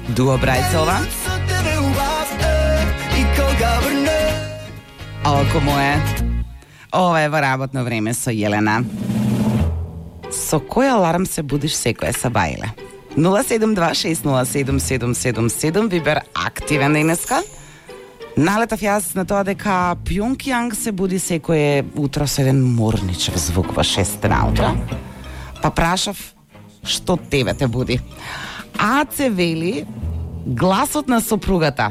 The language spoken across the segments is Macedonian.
Дуо Брајцова. Око мое. Ова е во работно време со Јелена. Со кој аларм се будиш секоја сабајле? 072607777 Вибер активен денеска. Налетав јас на тоа дека Пјонкјанг се буди секое утро со еден морничев звук во 6 наутро. Па прашав што тебе те буди. Аце вели гласот на сопругата.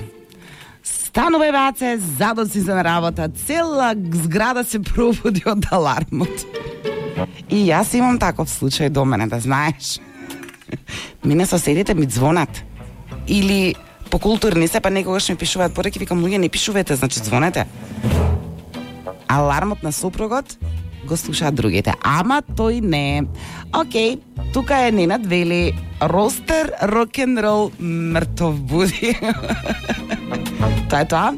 Станувај Аце, задоци за на работа, цела зграда се пробуди од алармот. И јас имам таков случај до мене, да знаеш. Мене соседите ми звонат. Или по културни се, па некогаш ми пишуваат пораки, викам, луѓе, не пишувате, значи звонете. Алармот на сопругот го слушаат другите. Ама тој не. Океј, тука е Ненад вели ростер, рок-н-рол, мртов буди. Тоа е тоа.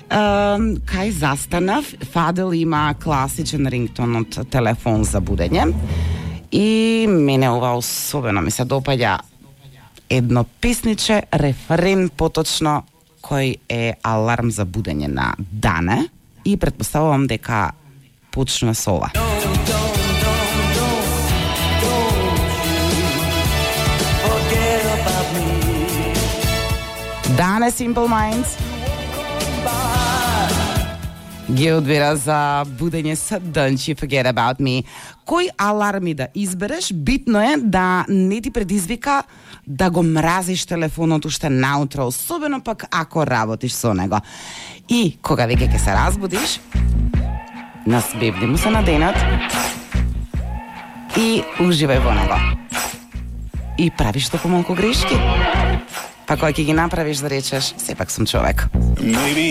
Кај застанав, Фадел има класичен рингтон од телефон за будење. И мене ова особено ми се допаѓа едно песниче, рефрен поточно, кој е аларм за будење на Дане. И претпоставувам дека почнува со ова. Дане Simple Minds ги одбира за будење со Don't You Forget About Me. Кој аларми да избереш, битно е да не ти предизвика да го мразиш телефонот уште наутро, особено пак ако работиш со него. И кога веќе ќе се разбудиш, насбевни му се на денот и уживај во него. И правиш толку малку грешки. Па кој ќе ги направиш да речеш, сепак сум човек.